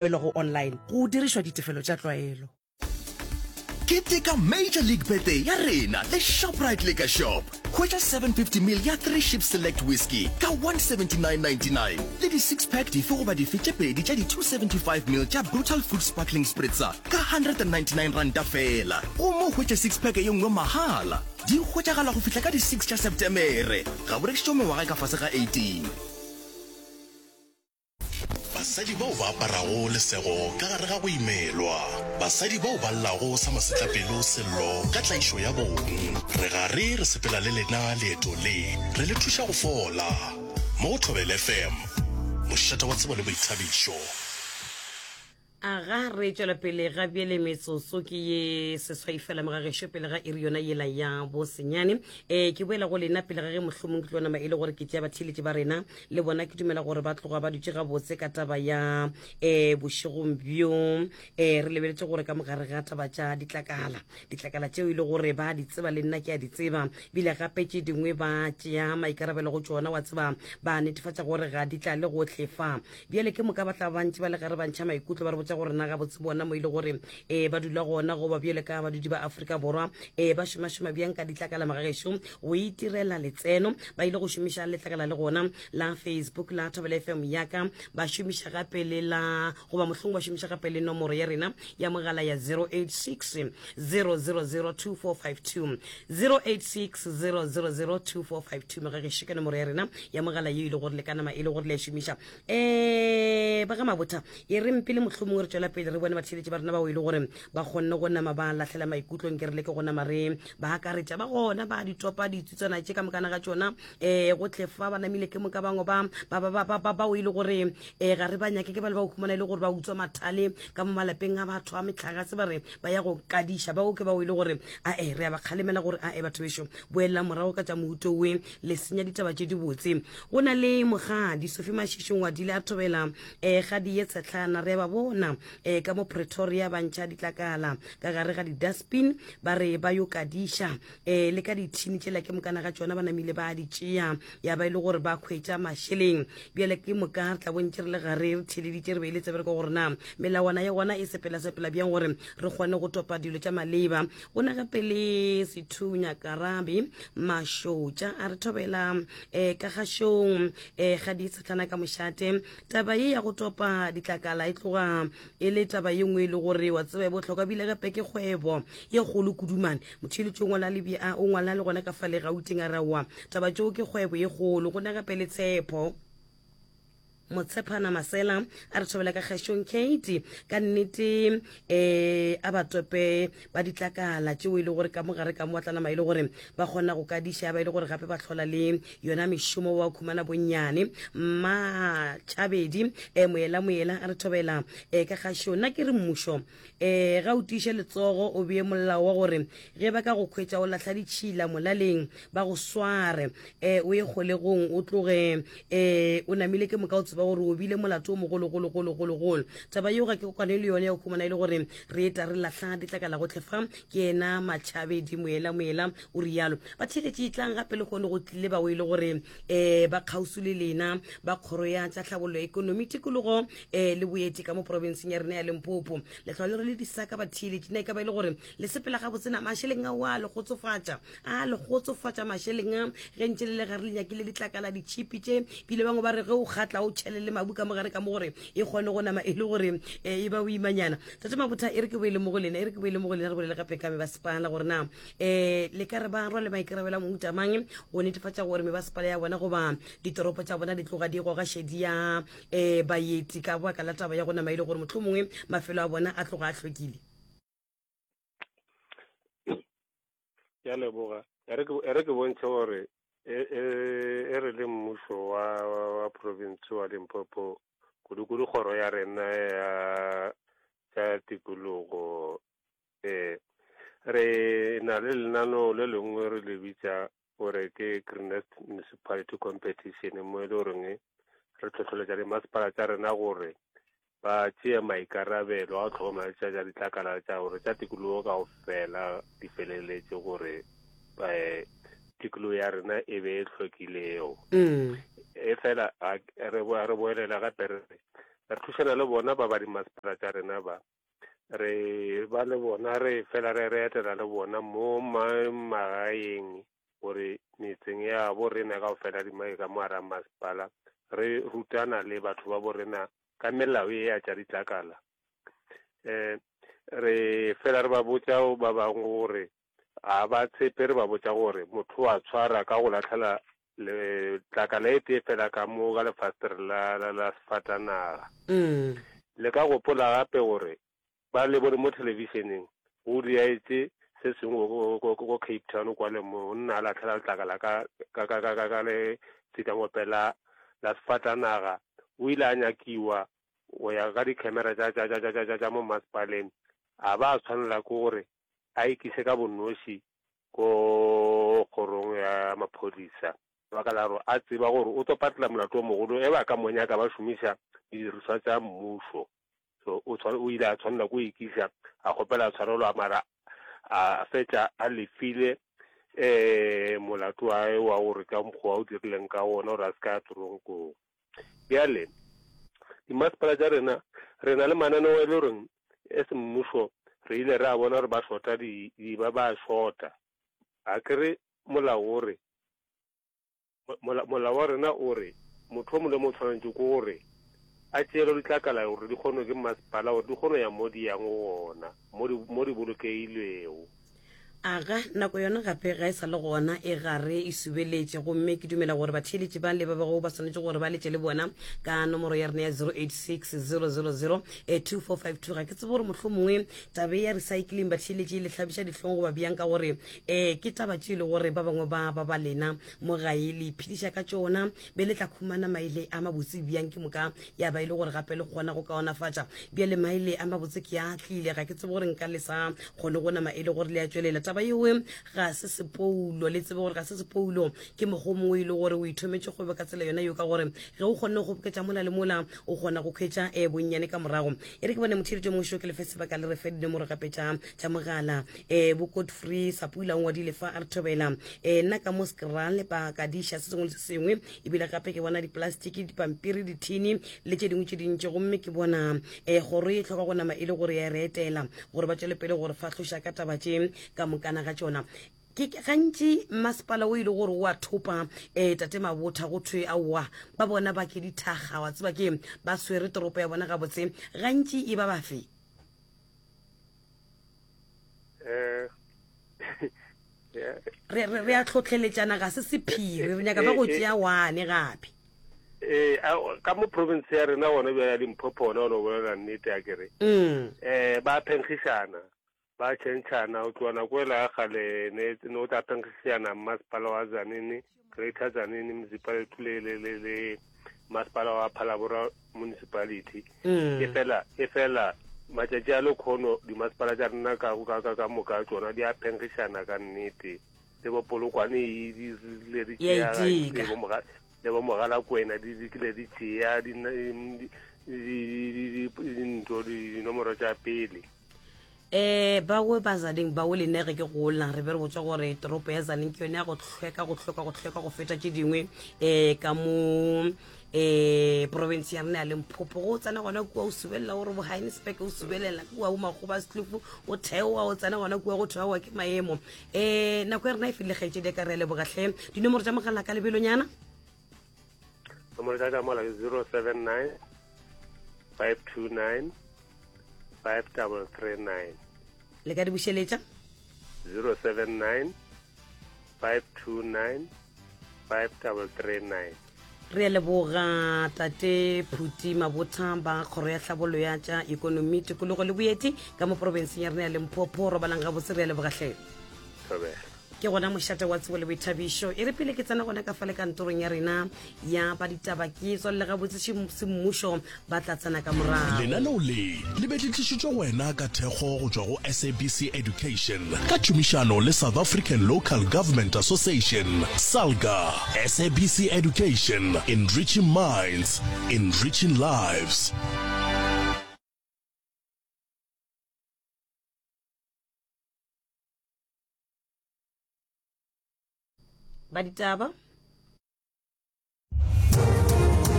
Go online go dirišwa ditefelo tša tlwaelo. Keteka Major League Birthday ya rena le Shoprite Liquor Shop. Hwetša 750 ml ya Three Ships Select Whisky ka 179.99 le di-six pack dife goba dife tše pedi tša di-275 ml tša Brutal Fruit Sparkling Spritzer ka 199 ranta feela. Gomme o hwetše six pack ye nngwe mahala. Di hwetšagala go fihla ka di-six tša Septemere. Ga bo rekišetšwe mengwaga e ka fase ga 18. Basadi bao ba aparago lesego ka gare ga go imelwa. Basadi bao ba llago sa masetlapelo sello ka tlaišo ya bong. Re gare re sepela le lena leeto le, re le thuša go fola. Mo go Thobela FM, mošate wa tsebo le boithabišo. Aga, re tšwela pele ga bjele metsotso ke ye seswai fela mogagešo pele ga iri yona yela ya bosenyane. E, ke boela go lena pele ga ge mohlomong ke tlo nama e le gore ke tšea batheeletši ba rena le bona ke dumela gore ba tloga ba dutše gabotse ka taba ya e, bošegong bjo. E, re lebeletše gore ka mogare ga taba tša ditlakala, ditlakala tšeo e le gore ba di tseba le nna ke a di tseba, bile gape tše dingwe ba tšea maikarabelo go tšona, wa tseba ba netefatša gore ga di tlale gohle fa. Bjale ke moka ba tla ba ntše ba le gare ba ntšha maikutlo ba re botša gore na gabotse bona mo e le gore um ba dula gona goba bjale ka badudi ba Afrika Borwa um ba šomašoma bjang ka ditlakala magagešo go itirela letseno. Ba ile go šomiša letlakala le gona la Facebook la Thobela FM yaka ba šomiša gape le la goba mohlong ba šomiša gape le nomoro ya rena ya mogala ya 086 000 2452 086 000 2452 magagešo ke nomoro ya rena ya mogala ye e le gore le ka nama e le gore le a šomiša um ba ga mabotha e re mpele mohlomongwe re tšwela pele re bone batheeletši ba rena bao e le gore ba kgonne go nama ba lahlela maikutlong ke re leke go nama re ba akaretša ba gona ba ditopa ditsutsana tše ka mokana ga tšona um go tle fa ba namile ke moka bangwe ba bao e le gore um ga re ba nyake ke ba le ba o humana e le gore ba utswa mathale ka mo malapeng a batho a metlagase ba re ba ya go kadiša bao ke bao e le gore ae re a ba kgalemela gore ae batho bešo boelela morago ka tša moutowe le senya ditaba tše dibotse. Go na le mogadi Sophie Mashishi Ngwadile a thobela um gadi ye tshetlana re a ba bona um ka mo Pretoria ba ntšha ditlakala ka gare ga di-dustbin ba re ba yo kadiša um le ka dithini tšela ke mokana ga tšona ba namile ba di tšea ya ba e le gore ba hwetša mašeleng. Bjale ke moka re tla bontše re le gare re theleditše re beile tsebe re kwa gore na melawana ya gona e sepela-sepela bjang gore re kgone go topa dilo tša maleba. Go na gape le Sethunya Karabi Mašotša a re thobela um ka gašong um ga di tshetlana ka mošate. Taba ye ya go topa ditlakala e tloga e le taba ye nngwe e le gore wa tseba e bohlokwa bile gape ke kgwebo ye kgolo kudumane. Motheeletši o ngwala le o ngwala le gona ka fale Gauteng a re aowa taba tšeo ke kgwebo ye kgolo. Go na gape le Tshepo. Motshephana Masela a re thobela ka kgešong Kate ka nnete um a batope ba ditlakala tšeo e le gore ka mogare ka mo ba tla nama e le gore ba kgona go kadiša ba e le gore gape ba hlola le yona mešomo wa khumana bonnyane. Mmatšhabedi um moela moela a re thobela um ka kgašong nna ke re mmušo um ga o tiiše letsogo o bee molao wa gore ge ba ka go khwetša o lahla ditšhila molaleng ba go sware um o ye kgolegong o tloge um o namile ke moka o tseba gore o bile molato o mogologologologologolo. Taba yeo ga ke kwane le yone ya go khumana e le gore re eta re lahla ditlakala gohle fa. Ke yena Matšhabedi Moela Moela o rialo. Batheeletši tlang gape le kgone go tlile bao e le gore um ba kgauswi le lena ba kgoro ya tša tlhabollo ya ekonomi, tikologo um le boeti ka mo porofenseng ya rena ya Limpopo. Lehlwa le re le disaka batheeletši na e ka ba e le gore le sepela gabotse na mašeleng ao a le kgotsofatša? A le kgotsofatša mašeleng a ge ntše le le gare le nyakile ditlakala ditšhipi tše bile bangwe ba re ge o kgatla o tšhele le mabu ka mogare ka mo gore e kgone go nama e le gore e ba boimanyana. Tate Mabotha e re ke boele mo go lena e re ke boele mo go lena re bolele gape ka mebasepala gore na um le ka re ba rwale maikarabelo a mohuta mang go netefatša gore mebasepala ya bona goba ditoropo tša bona di tloga di goga šedi ya um baeti ka baka la taba ya go nama e le gore mohlomongwe mafelo a bona a tloga a hlwekile. Ke a leboga. E re ke e re ke bontšhe gore e e e re le mmušo wa wa province wa Limpopo kudu-kudu kgoro ya rena ya tša tikologo eh re na le lenaneo le lengwe re le bitša gore ke Greenest Municipality Competition mo e le goreng re hlohleletša dimasepala tša rena gore ba tšee maikarabelo a go hlokomela tša tša ditlakala tša gore tša tikologo ka fela di feleletše gore um tikologo ya rena e be e hlwekilego. Mm. E fela re boelela gape re re. Re thušana le bona ba ba dimasepala tša rena ba. Re ba le bona re fela re re etela le bona mo magaeng gore metseng ya bo rena kaofela di ka mo gara masepala re rutana le batho ba bo rena ka melao e ya tša ditlakala. Um re fela re ba botša ba bangwe gore ga ba tshepe re ba botša gore motho wa tshwara ka go latlhela letlakala e tee fela ka mo ka lefastere la, la, la sefatanaga. Mm. Le ka gopola gape gore ba le bone mo thelebišeneng go diaetse se sengwe go, go, go Cape Town kwale monna a latlhela letlakala ka, ka, ka, ka, ka, ka letsikangope la, la sefatanaga. O ile a nyakiwa go ya ka di-camera tša, tša, tša, tša, tša, tša mo masepaleng, a ba a tshwanela ke gore a ikise ka bonoši ko kgorong ya maphodisa lebaka la gore a tseba gore o tlo patela molato o mogolo e ba ka mo nyaka ba šomiša didirišwa tša mmušo. So o o ile a tshwanela ko ikisa a kgopela tshwarelo a mara a fetša a lefile um molato wa wa gore ka mokgwa o dirileng ka wona gore a se ka ya toronkong. Bjale dimasepala tša rena re na le mananeo e le goreng e semmušo re ile ra bona gore ba shota di, di ba ba shota. A ke re molao o re, mola, molao wa rena o re motho o mongwe le mongwe o tshwanetše ke gore a tšeelwe ditlakala gore di kgonwe ke masepala gore di kgone go ya mo di yang gona, mo di, mo di bolokegilego. Aga, nako yona gape ga e sa le gona, e gare e subeletše. Gomme ke dumela gore batheeletši ba le ba bego ba swanetše gore ba letše le bona ka nomoro ya rena ya 086 000 2452. Ga ke tsebe gore mohlomongwe tabe ya recycling batheeletši e le hlabiša dihlong goba bjang, ka gore um ke taba tše e le gore ba bangwe ba ba ba lena mo gae le iphediša ka tšona, be le tla khumana maile a mabotse bjang ke moka ya ba e le gore gape le kgona go kaonafatša. Bjale maile a mabotse ke a tlile, ga ke tsebe gore nka le sa kgone go nama e le gore le a tšwelela. Taba yewe ga se sepoulo, le tsebe gore ga se sepoulo, ke mokgwa o mongwe e le gore o ithometše kgwebo ka tsela yona yeo, ka gore ge o kgonne go kgoboketša mola le mola o kgona go khwetša um bonnyane ka morago. E re ke bone motheeletši o mongwe šo ke lefe sebaka le re fe dinomoro gape tša tša mogala. Um bo Godfrey Sapula o ngwadile fa a re thobela um nna ka mo Skral ba ka diša se sengwe le se sengwe, ebile gape ke bona diplastiki, dipampiri, dithini le tše dingwe tše dintši, gomme ke bona um kgoro e hloka go nama e le gore ya re etela gore ba tšwele pele gore fahloša ka taba tše ka mokana ga tšona. Ke gantši masepala o e le gore o a thopa um tate Mabotha go thwe aowa ba bona ba ke dithaga, wa tseba ke ba swere toropo ya bona gabotse, gantši e ba bafe? Eh, re re re a tlhotlheletšana, ga se sephiri, re nyaka ba go tšea wane gape. Ee, ka mo province ya rena gona bjale ya Limpopo gona gona bolela nnete a kere. Mm. Eh, ba phenkgišana, ba tšhentšhana go tloga nako ela ya kgale ne ne o tla phenkgišana mmasepala wa Tzaneen, Greater Tzaneen Municipality le le le le masepala wa Phalaborwa Municipality. Mm. E fela e fela matšatši a lekhono dimasepala tša rena ka ka ka ka moka tšona di a phenkgišana ka nnete. Le bo Polokwane e di rile di Ya tšea iteka. le bo Moga- le bo Mogalakwena di di kile di tšea di di di di di dintho dinomoro tša pele. Um bawe ba Zaneng bawe le nna ge ke gola re be re botswa gore toropo ya Zaneng ke yone ya go hlweka go hlweka go hlweka go feta tše dingwe um ka mo um province ya rena ya Limpopo. Go tsena gona kua o subelela gore bo Heinsberg o subelela kua bo Makgoba Setlhofu o theoa o tsena gona kua go theoa ke maemo. Um nako ya rena e fedile kgaetšedi ya ka, re a leboga hle. Dinomoro tša mogala ka lebelonyana. Nomoro tša ka mola ke 079 529 5339. Le ka di bušeletša? 079 529 5339. Re a leboga tate Phuti Mabotha ba kgoro ya tlhabollo ya tša ekonomi, tikologo le boeti ka mo porofenseng ya rena ya Limpopo. Robalang gabotse, re a leboga hle. Thobela. Ke gona mošate wa tsebo le boithabišo. E re pele ke tsena gona ka fa le kantorong ya rena ya ba ditaba ke tswalele gabotse semmušo ba tla tsena ka morago. Lenaneo le le be le tlišitšwe go wena ka thekgo go tšwa go SABC Education ka tšhomišano le South African Local Government Association, SALGA. SABC Education, enriching minds, enriching lives. Ba ditaba.